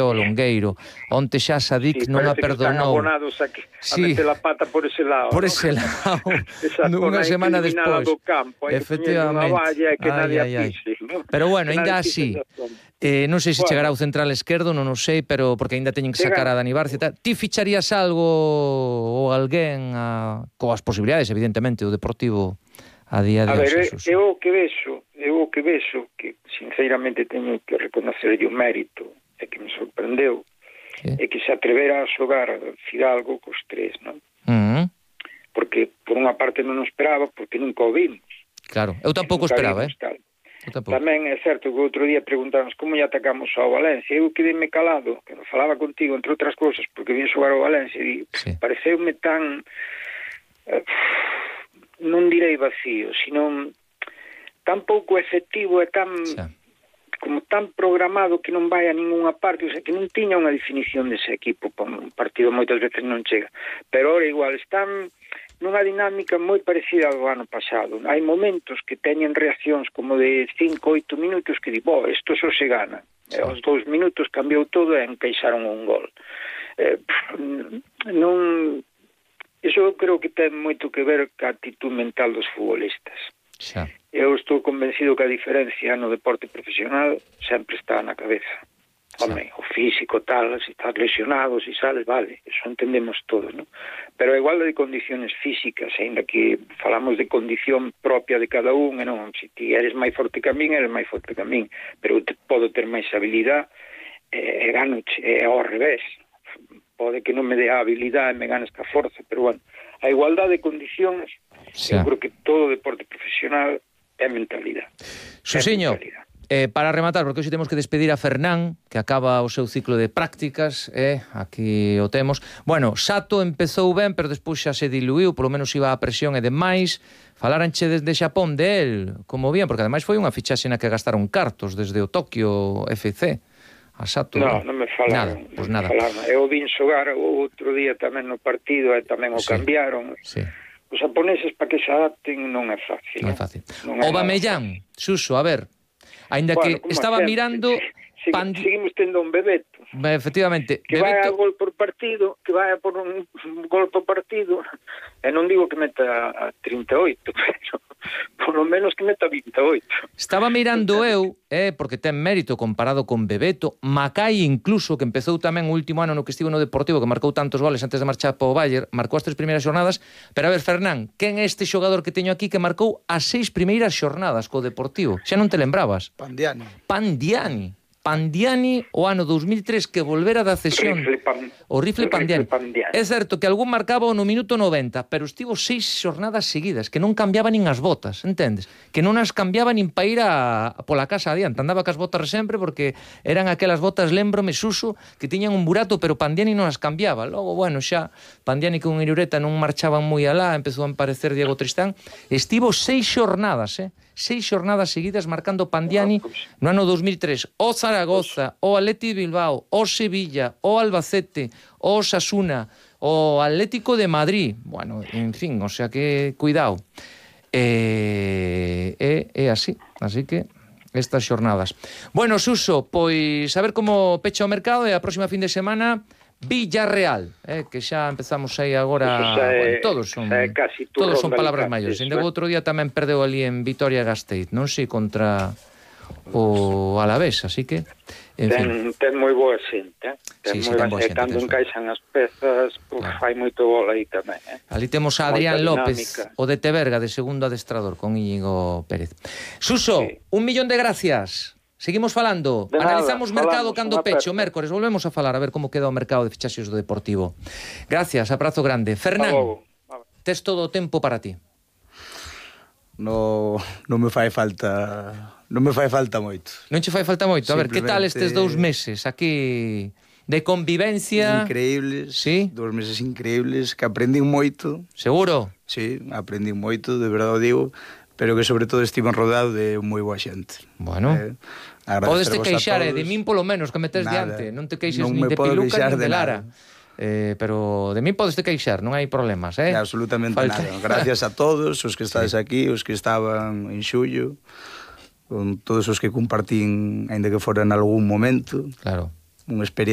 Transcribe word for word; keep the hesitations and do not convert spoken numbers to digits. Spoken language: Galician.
o Longueiro. Onte xa Sadik sí, non a Están perdonou. abonados a, que, a sí. meter a pata por ese lado. Por ¿no? ese lado. Nunha semana despois. Do campo, hai que poñer unha valla e que ai, nadie ai, a pise. ¿no? Pero bueno, que ainda así. Eh, non sei se bueno. chegará ao central esquerdo, non o sei, pero porque ainda teñen que sacar a Dani Barcia. Ti ficharías algo ou alguén a... coas posibilidades, evidentemente, o Deportivo a día de hoxe? A ver, eu o que vexo, eu o que vexo, que sinceramente teño que reconocerlle o mérito, e que me sorprendeu, sí. é que se atrevera a xogar Fidalgo cos tres, non? Uh -huh. Porque, por unha parte, non o esperaba, porque nunca o vimos. Claro, eu tampouco esperaba, eh? Tamén é certo que outro día preguntamos como lle atacamos ao Valencia. Eu quedei-me calado, que non falaba contigo, entre outras cousas, porque vim xogar ao Valencia e sí. pareceume tan... Eh, non direi vacío, sino tan pouco efectivo e tan... Sí. como tan programado que non vai a ninguna parte, o sea, que non tiña unha definición dese equipo, un partido moitas veces non chega, pero ahora igual están nunha dinámica moi parecida ao ano pasado. Hai momentos que teñen reaccións como de cinco, oito minutos que di, bo, isto só se gana. Sí. E aos dous minutos cambiou todo e encaixaron un gol. Eh, non... Iso eu creo que ten moito que ver ca actitud mental dos futbolistas. Sí. Eu estou convencido que a diferencia no deporte profesional sempre está na cabeza. Home, sí. O físico tal, se estás lesionado, se sales, vale, eso entendemos todos, ¿no? Pero a igualdade de condiciones físicas, ainda que falamos de condición propia de cada un, e non, se ti eres máis forte que a min, eres máis forte que a min, pero te, podo ter máis habilidade e, e gano, e ao revés. Pode que non me dé a habilidade e me ganes ca forza, pero bueno, a igualdade de condicións, sí. eu creo que todo deporte profesional é mentalidade. Xusiño, eh, para rematar, porque hoxe temos que despedir a Fernán, que acaba o seu ciclo de prácticas, eh, aquí o temos. Bueno, Sato empezou ben, pero despois xa se diluiu, polo menos iba a presión e demais. Falaranche desde Xapón de él, como bien, porque ademais foi unha fichaxe na que gastaron cartos desde o Tokio F C. A Sato, no, non me falaron. Nada, pues nada. Falaron. Eu vin xogar o outro día tamén no partido e tamén o sí. cambiaron. Sí. Os japoneses para que se adapten non é fácil. Non é fácil. Non é o Bamellán, Suso, a ver, aínda bueno, que estaba sempre, mirando... Segui, Pandi... Seguimos tendo un Bebeto. Efectivamente. Que Bebeto... vai a gol por partido, que vai a por un, un gol por partido, e non digo que meta a trinta e oito, pero por lo menos que meta vinte e oito. Estaba mirando eu, eh, porque ten mérito comparado con Bebeto, Macai incluso, que empezou tamén o último ano no que estivo no Deportivo, que marcou tantos goles antes de marchar para o Bayern, marcou as tres primeiras xornadas, pero a ver, Fernán, quen é este xogador que teño aquí que marcou as seis primeiras xornadas co Deportivo? Xa non te lembrabas? Pandiani. Pandiani. Pandiani o ano dous mil tres que volvera da cesión. Rifle pan... O rifle Pandiani. Rifle Pandiani. É certo que algún marcaba no minuto noventa, pero estivo seis xornadas seguidas, que non cambiaba nin as botas, entendes? Que non as cambiaba nin para ir a, a pola casa adiante, andaba cas botas sempre porque eran aquelas botas, lembrome, Suso, que tiñan un burato, pero Pandiani non as cambiaba. Logo, bueno, xa Pandiani con Irureta non marchaban moi alá, empezou a aparecer Diego Tristán. Estivo seis xornadas, eh? Seis xornadas seguidas marcando Pandiani no ano dous mil tres. O Zaragoza, o Atleti de Bilbao, o Sevilla, o Albacete, o Osasuna, o Atlético de Madrid. Bueno, en fin, o sea que cuidado. É eh, eh, eh, así, así que estas xornadas. Bueno, Suso, pois a ver como pecha o mercado e a próxima fin de semana Villarreal, eh, que xa empezamos aí agora, é, bueno, todos son todos son palabras maiores. Ainda o outro día tamén perdeu ali en Vitoria-Gasteiz, non sei, contra o Alavés, así que en ten, fin. ten moi boa xente, eh? ten sí, moi sí, ten boa xente, cando encaixan as pezas, uf, claro. Fai moito gol aí tamén, eh? Ali temos a Adrián López, o de Teberga, de segundo adestrador, con Íñigo Pérez. Suso, sí. Un millón de gracias. Seguimos falando, de analizamos nada, mercado cando peche, o mércores, volvemos a falar a ver como queda o mercado de fichaxes do Deportivo. Gracias, abrazo grande. Fernán, tes todo o tempo para ti. No, non me fai falta, non me fai falta moito. Non che fai falta moito? A ver, que tal estes dous meses aquí de convivencia? Increíbles, sí? Dous meses increíbles, que aprendín moito. Seguro? Sí, aprendín moito, de verdade o digo, pero que sobre todo estiven rodeado de moi boa xente. Bueno, eh, podes te queixar, eh, de min polo menos, que me tes diante. Non te queixes non nin de Piluca nin de, de Lara. Eh, pero de mí podes te queixar, non hai problemas, eh? De absolutamente Falta... nada. Gracias a todos os que estades sí. aquí, os que estaban en xullo, con todos os que compartín, ainda que fora en algún momento. Claro. unha experiencia